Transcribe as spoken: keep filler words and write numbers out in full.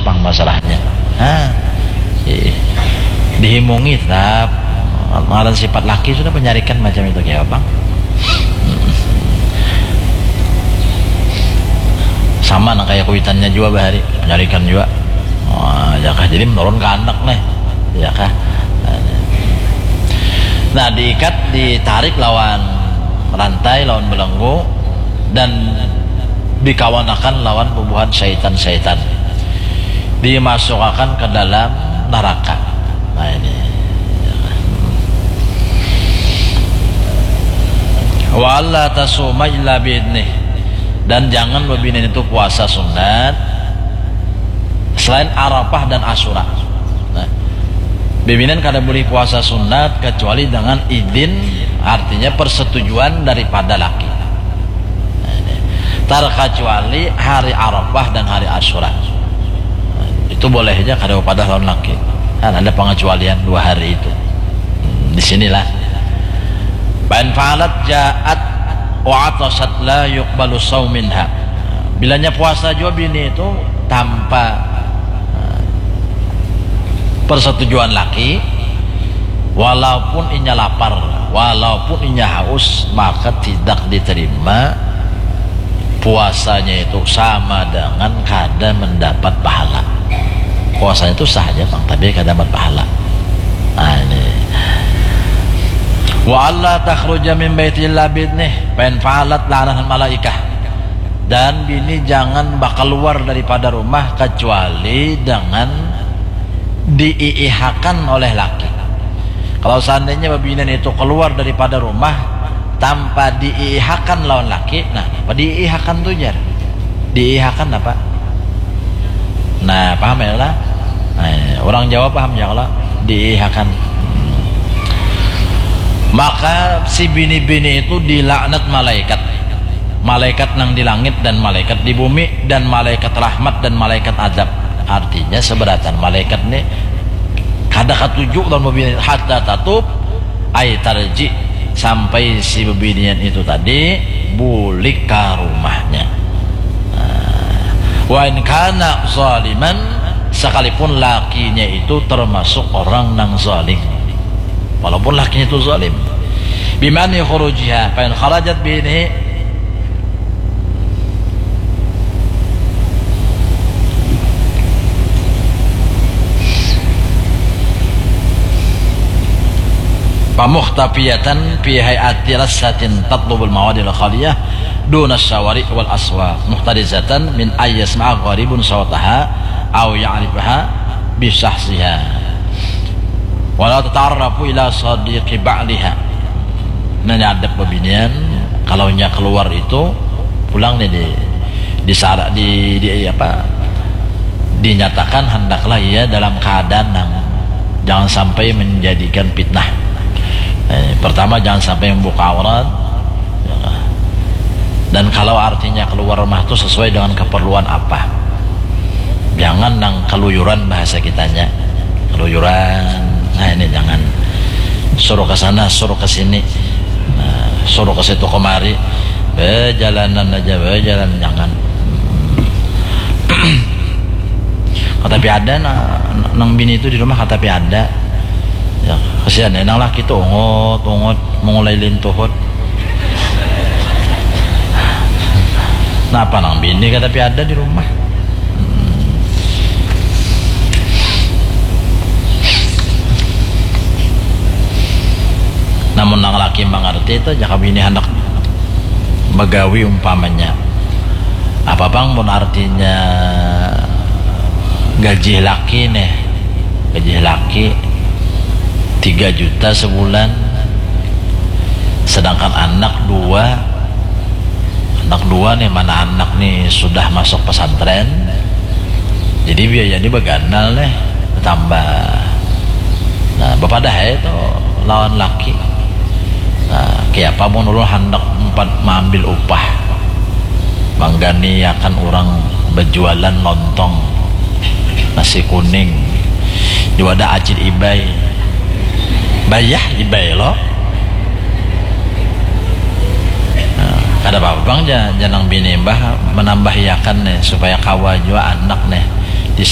Pang masalahnya. Hah. Ih. Dihimungi tetap. Ngaran sifat laki sudah, penyarikan macam itu, kayak apa? Sama nang kayak kuitannya juga bahari, penyarikan juga. Wah, ya kah? Jadi menurun ke anak nih. Ya kah? Nah, diikat, ditarik lawan rantai, lawan belenggu, dan dikawanakan lawan bubuhan syaitan-syaitan, dimasukakan ke dalam neraka. Nah, ini. Wa alla tasuma illa biidnih. Dan jangan bebinian itu puasa sunat selain Arafah dan Asyura. Nah, bebinian kada boleh puasa sunat kecuali dengan idin, artinya persetujuan daripada laki. Nah, ini. Terkecuali hari Arafah dan hari Asyura. Nah, itu boleh aja kada upadah lawan laki. Kan ada pengecualian dua hari itu. Hmm, di sinilah. Fa in fa'alat ja'at wa atasat la yuqbalu shaum minha. Bilanya puasa jua bini itu tanpa, eh, persetujuan laki, walaupun inya lapar, walaupun inya haus, maka tidak diterima puasanya itu, sama dengan kada mendapat pahala. Puasanya itu sah aja pang, tapi kada dapat pahala. Nah, ini. Wa alla takhruja min baiti illa biidnih, fa in fa'alat la'anahal malaikah. Dan bini jangan bakeluar daripada rumah kecuali dengan diiihakan oleh laki. Kalau seandainya bebinian itu keluar daripada rumah tanpa diiihakan lawan laki, nah, apa diiihakan tu, jar? Diiihakan apa? Nah, paham ya lah? Nah, orang Jawa paham ya kalau diiihakan. Maka si bini-bini itu dilaknat malaikat. Malaikat nang di langit dan malaikat di bumi dan malaikat rahmat dan malaikat adab. Artinya, seberatan malaikat ni kada katuju lawan bebinian, hatta tatub, ai tarji, sampai si bebinian itu tadi bulik ka rumahnya. Nah, wa in kana zaliman, sekalipun lakinya itu termasuk orang nang zalim. Walaupun lakinya itu zalim. Bimani khurujiha, fa in kharajat biidnih, fa mukhtafiyatan fi hay'ati rassatin tatlubul mawadil khaliyah duna syawari wal aswaq, muhtarizatan min ay yasma'a gharibun sautaha au ya'rifaha bisahsiha. Wala tata'arrafu ila sadiqi ba'liha. Nah, ini adab bebinian, kalau nya keluar itu pulang nih di, di sara-, di, di apa, dinyatakan hendaklah ia dalam keadaan yang jangan sampai menjadikan fitnah. Eh, pertama, jangan sampai membuka aurat. Ya. Dan kalau artinya keluar rumah tuh sesuai dengan keperluan apa. Jangan nang keluyuran, bahasa kitanya. Keluyuran. Nah, ini jangan. Suruh ke sana, suruh ke sini. Nah, suruh ke situ kemari. Bejalanan aja, bejalan, jangan. Katapi ada, nah, nang bini itu di rumah katapi ada. Ya, kasihan ya, nang laki tuh ungut, ungut, mengulai lintuhut. Napa nang bini katapi ada di rumah? Hmm. Namun nang laki mangarti itu, jaka bini handak bagawi umpamanya. Apa pang pun artinya gaji laki nih, gaji laki tiga juta sebulan, sedangkan anak dua, anak dua nih, mana anak nih sudah masuk pesantren, jadi biaya ini beganal nih, bertambah. Nah, bapadah ai tu lawan laki. Nah, kayapa mun ulun handak umpat maambil upah, mangganiakan urang bajualan lontong, nasi kuning, di wadah Acil Ibai. Bayah Ibai lo. Nah, kada papa pang ja, janang bini mbah manambahiakan nih, supaya kawa jua anak nih.